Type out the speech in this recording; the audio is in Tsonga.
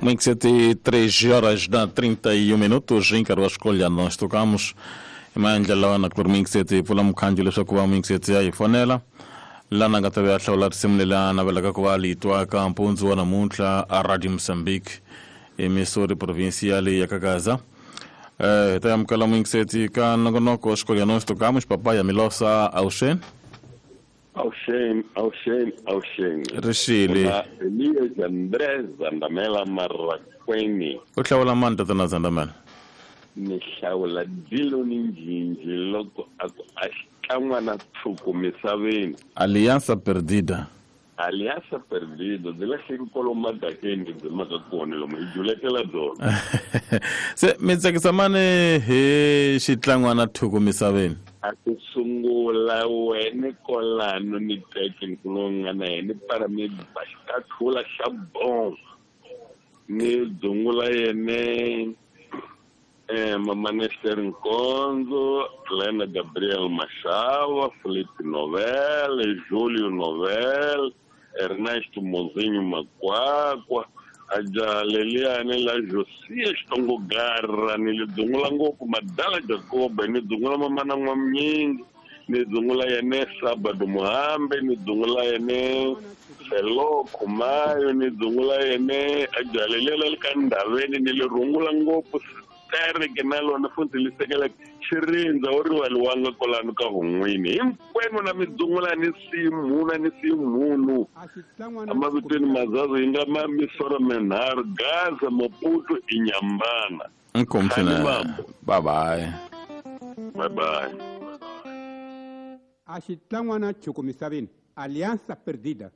23 horas da 31 minutos hi nkarhi wa xikolya nós tocamos hi maendlelo na ku ri mingiseti hi pfula mukhanjo leswaku va mingiseti ya hi fonela lana nga ta ve a hlawula risimu leri a navelaka ku va li twaka mpundzu wa namuntlha a Radio Mozambique emissouri provincial ya Kagaza. Hi ta amukela muyingiseti ka nongonoko wa xikolya nós tocamos papaya Milosa Auxen. Auxen, Auxen, Auxen. Rixile. Kuna Elias André Zandamela Marrakweni. U hlawula mani tatana Zandamela? Ni hlawula Dilo ni Njinji loko a ku a xikan'wana tshuku misaveni. Alianza Perdida. Alianza Perdida byi lahleki kwalomu madakeni byi maka kona lomu hi juletela byona. Se mi tsakisa mani hi xitlangwana thuku misaveni? A ku sungula wene kolano ni teke nkulumo nga na yena ni para mi ba xikathula xa bom ni dzungula yene Mama Nester Nkonzo, Lena Gabriel Mashava, Felipe Novel, Julio Novel, Ernesto Mozinho Makwakwa, a jaha leliyani la Josiya Xitongo Garra ni li dzungula ngopfu Madala Jakobe ni dzungula Mamana N'wamnyingi ni dzungula yene Sabado Muhambe ni dzungula yene Selo Khumayo ni dzungula yene a jaha leliya la le ka Ndhaveni ni li rungula ngopfu Tereke na lona futhi li sekela xirindza wo rivaliwanga kwalano ka Hun'wini. Hinkwenu na mi dzungula ni siyi mhunu a ni siyi mhunu. Emavitweni mazazi yi nga ma misoro minharhu, Gaza, Maputo, Inyambana. Inkomu Khani swinene. mambo. Bye bye. Bye bye. A xitlangwana chuku misaveni, Alianza Perdida.